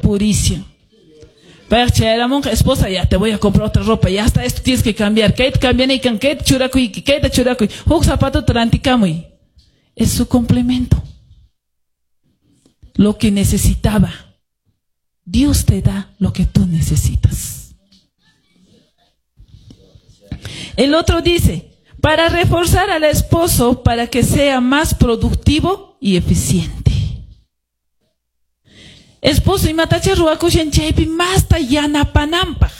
purishan. Payqa chayaramunqa, esposa, ya te voy a comprar otra ropa, ya hasta esto tienes que cambiar, kayta cambianaykan, kayta churakuyki, kayta churakuy, huk zapatota rantikamuy. Es su complemento. Lo que necesitaba. Dios te da lo que tú necesitas. El otro dice, para reforzar al esposo para que sea más productivo y eficiente. Esposo imatacha ruwakushan chaypi masta yanapananpaq.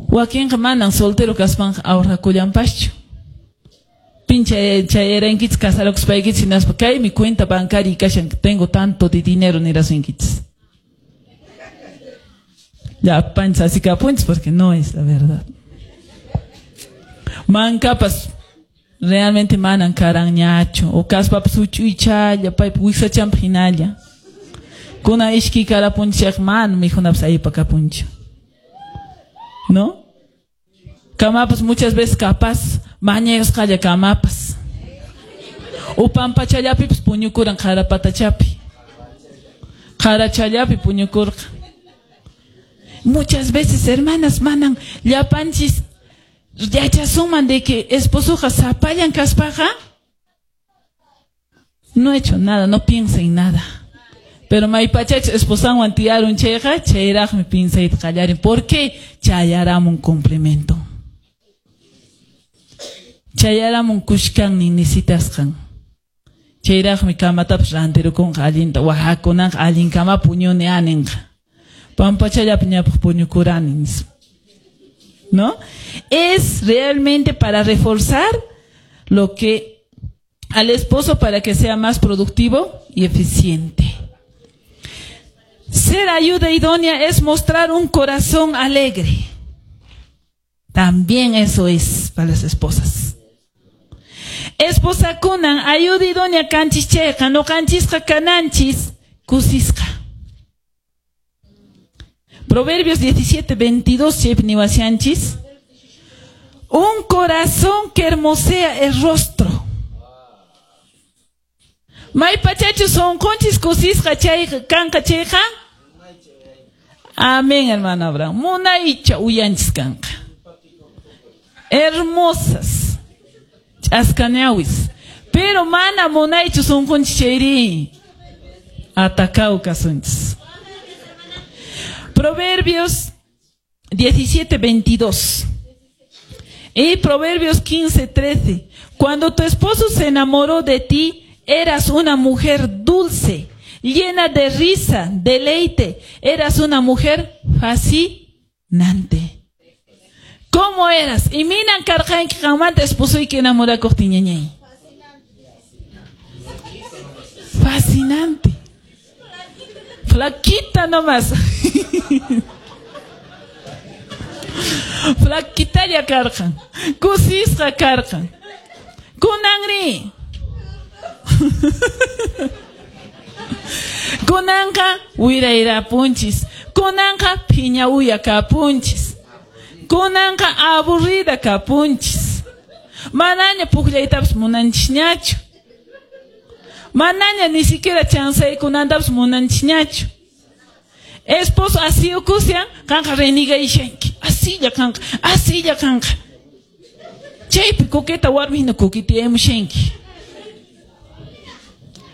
Wakinqa manan soltero kaspanqa ahorrakullanpaschu. Pincha chayarankichis casarakuspaykichis hinaspa kaymi cuenta bancaria kashan, tengo tanto de dinero nirasunkichis. Llapanchis así kapunchis porque no es la verdad. Mankapas realmente manan karanñachu o kaspapas huch'uychalla paypa wiksachanpaq hinalla. Kuna ishki karapunchis mana mikhunapas aypa kapunchu. ¿No? Kamapas muchas veces capaz mañayusqalla kamapas. O pampachallapipas puñukuran qarapatachapi. Qarachallapi puñukurqa. Muchas veces, hermanas, manan llapanchis yachasunman de que esposoqa sapallan kaspaqa no he hecho nada, no piensa en nada. Pero maypachachus esposanwan tiyarun chayqa chayraqmi pinsayta qallarin. ¿Por qué? Chayaramun complemento. Chayaramun kushkannin necesitasqan. Chayraqmi kamatapas rantirukunqa allinta wahakunanqa allin kama puñuni aninqa. Pampachallapi ñapaq puñukurani nispa. ¿No? Es realmente para reforzar lo que al esposo para que sea más productivo y eficiente. Ser ayuda idónea es mostrar un corazón alegre. También eso es para las esposas. Esposakunan ayuda idónea kanchis chayqa, ñuqanchisqa kananchis kusisqa. Proverbios 17, 22, chaypi niwashanchis. Un corazón que hermosea el rostro. Maypachachu sunqunchis kusisqa chayqa kanqa chayqa. Amén, hermano Abraham. Munaycha uyanchis kanqa. Hermosas. Ch'askañawis. Pero mana munaychu sunqunchis chayri. Atacao kasunchis. Proverbios 17, 22. Y Proverbios 15, 13. Cuando tu esposo se enamoró de ti, eras una mujer dulce, llena de risa, deleite. Eras una mujer fascinante. ¿Cómo eras? Imaynan karqanki qanmanta esposoyki enamorakuqtin, ñañay. Fascinante. Flaquita nomás. Flaquitalla karqan. Kusisqa karqan. Kunanri. Kunanqa wirairapunchis. Kunanqa phiña uya kapunchis. Kunanqa aburrida kapunchis. Manaña pukllaytapas munanchisñachu. Manaña ni siquiera chansaykunantapas munanchisñachu. Esposo así ukusian, qanqa renegayashanki. Asilla qanqa, asilla qanqa. Chaypi coqueta warmi hina coqueteamushanki.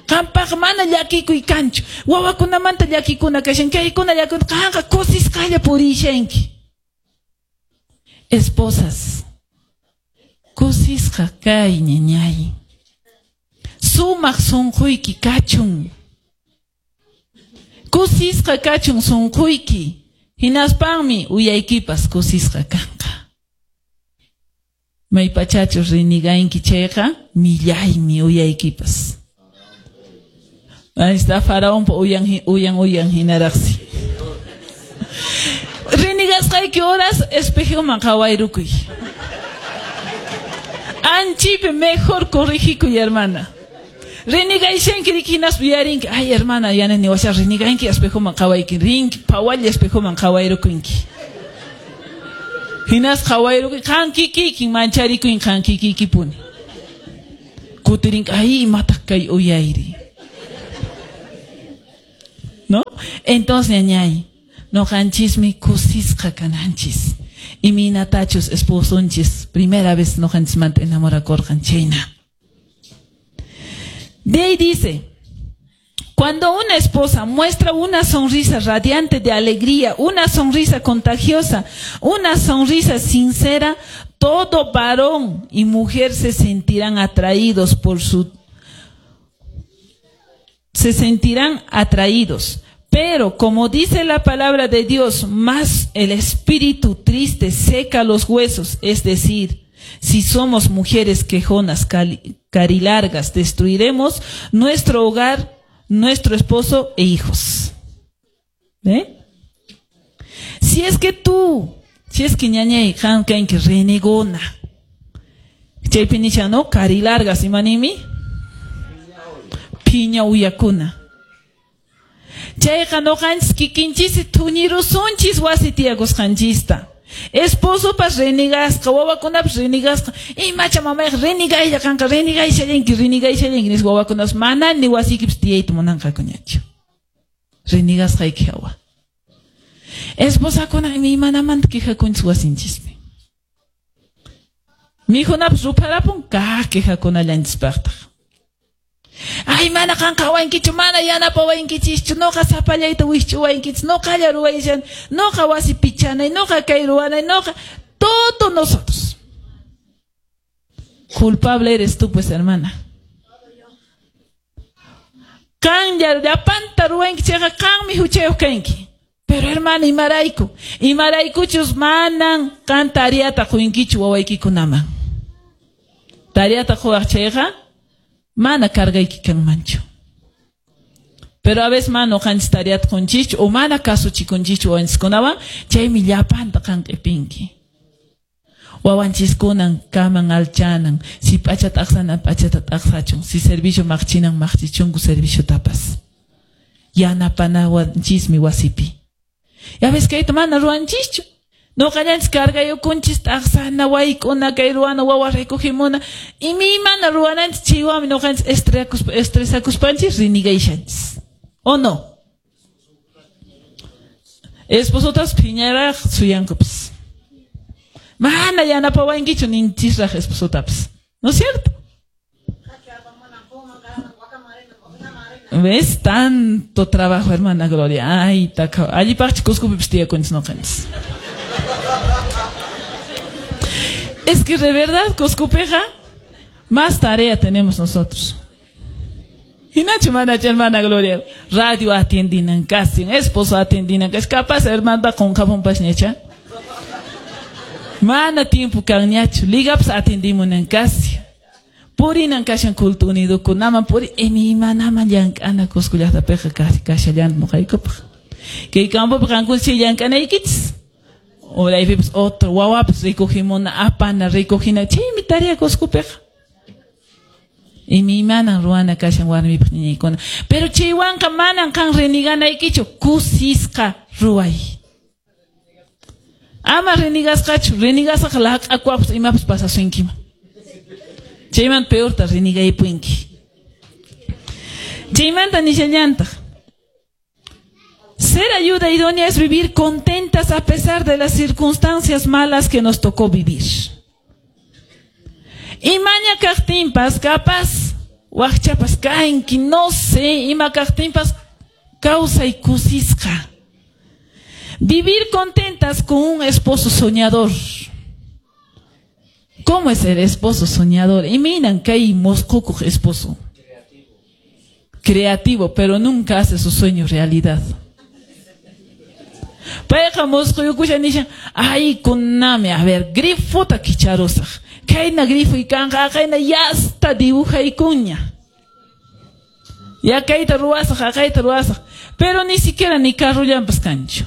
Qampaq mana llakikuy kanchu. Wawakunamanta llakikuna kashan, kaykuna llakikuna, qanqa kusisqalla purishanki. Esposas, kusisqa kay ñañay. Sumaq sunquyki kachun. Kusisqa kachun sunquyki. Hinaspanmi uyaykipas kusisqa kanqa. Maypachachus riniganki chayqa millaymi uyaykipas. Ahí está faraonpa uyan uyan uyan hinaraqsi. Rinigasqayki horas espejoman qhawayrukuy. Anchipi mejor corrigikuy, hermana. Renigayshanki riki hinaspa yuyarinki, ay hermana, yana niwasha reniganki espejoman qhawayki, rinki phawalla espejoman qhawayrukunki. Hinas qhawayrukuy, qan kikikin mancharikuy qan kikikipuni. Kutirinki, ay imataq kay uyayri. ¿No? Entonces, ñañay, noqanchismi kusisqa kananchis. Imaynatachus esposonchis primera vez noqanchismanta enamorakurqan chayna. De ahí dice, cuando una esposa muestra una sonrisa radiante de alegría, una sonrisa contagiosa, una sonrisa sincera, todo varón y mujer se sentirán atraídos por su se sentirán atraídos. Pero como dice la palabra de Dios, más el espíritu triste seca los huesos, es decir, si somos mujeres quejonas, carilargas, destruiremos nuestro hogar, nuestro esposo e hijos. ¿Ve? Si es que tú, si es que ñañay, qan kanki renegona. Chaypi nishan, no? Carilargas, imanimi? Phiña uyakuna. Chayqa noqanchis kikinchis thuñirusunchis wasi tiyakusqanchista. Esposopas renegasqa, wawakunapas renegasqa. Imacha mamayqa renegaylla kanqa, renegayshallanki, renegayshallanki nispa wawakunapas mana ni wasiykipis tiyayta munanqakuñachu. Renegasqayki hawa. Esposakuna imaymanamanta quejakunchis wasinchispi. Mikhunapas rupharapun kaq quejakunallanchispaqtaq. Ay, mana qan qhawankichu, mana yanapawankichischu, noqa sapallayta wikch'uwankichis, noqalla ruwayshan, noqa wasi pichanay, noqa kay ruwanay, noqa, todo nosotros. Culpable eres tú, pues, hermana. Qanlla llapanta ruwanki chayqa qanmi huchayuq kanki. Pero hermana, imarayku, imaraykuchus manan qan tareata quyinkichu wawaykikunaman. Tareata quwaq chayqa mana cargayki kanmanchu. Pero a veces mana noqanchis tareata qunchischu o mana kasuchikunchischu wawanchiskunawan, chaymi llapanta qan q'ipinki. Wawanchiskunan kaman alchanan, si p'acha t'aqsanan p'achata t'aqsachun, si servicio maqchinan maqchichunku serviciotapas. Yanapanawanchismi wasipi. Ya ves kayta mana ruwanchischu. Noqallanchis cargayukunchis t'aqsana, wayk'una, kay ruwana, wawa recogimuna. Imaymana ruwananchis chaywanmi noqanchis estresakuspanchis renegayshanchis. ¿O no? Esposotas phiñaraq suyankupis. Mana yanapawankichu ninchisraq esposotapas. ¿No es cierto? ¿Ves? Tanto trabajo, hermana Gloria. Ay, taka. Allipaqchi Cuscopipis tiyakunchis noqanchis. Es que de verdad, Cuscopeja, más tarea tenemos nosotros. Hinachu manachu, hermana Gloria. Radio atiendinan casi, esposo atiendinan casi. Capaz, hermana, con jabón pasñacha. Mana tiempo kanñachu. Ligapas atendimunan casi. Purinan kashan culto unido kunaman puri imanaman llank'ana Cusco llaqtapiqa kashallan noqaykupaq. Kay campopi qankuna chay llank'anaykichis. Uraypipas otro wawapas recogimuna apana recogina chaymi tarea Cuscopiqa. Imaymanan ruwana kashan warmipaq ñañaykuna. Pero chaywanqa manan qan reneganaykichu, kusisqa ruway. Ama renegasqachu, renegasqa laq'akuwapas imapas pasasunkiman. Chayman peorta renegaypunki. Chaymanta nishallantaq. Ser ayuda idónea es vivir contentas a pesar de las circunstancias malas que nos tocó vivir. Imaña kaqtinpas, capaz, waqchapas kanki, no sé, ima kaqtinpas, kawsay kusisqa. Vivir contentas con un esposo soñador. ¿Cómo es el esposo soñador? Imaynan kay mosqukuq esposo. Creativo, pero nunca hace su sueño realidad. Payqa mosquyukusha nishan, ay kunami, a ver, grifota kicharusaq. Kayna grifo ikanqa, kayna yasta dibujaykuña. Ya kayta ruwasaq, kayta ruwasaq. Pero ni siquiera ni carrullampas kanchu.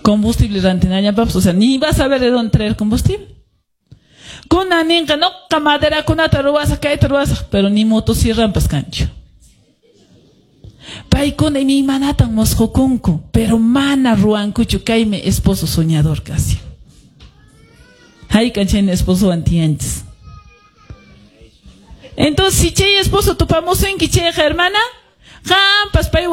Combustible rantinallampas, o sea, ni vas a ver de dónde traer combustible. Kuna ninqa noqa maderakunata ruwasaq, kayta ruwasaq, pero ni motosierrampas kanchu. Paykuna imaymanatan mosqukunku, pero mana ruwankuchu, kaymi esposo soñador casi. Haykan chayna esposowan tiyanchis. Entonces, si chay esposo tupamusunki chayqa, hermana, Qampas paywan.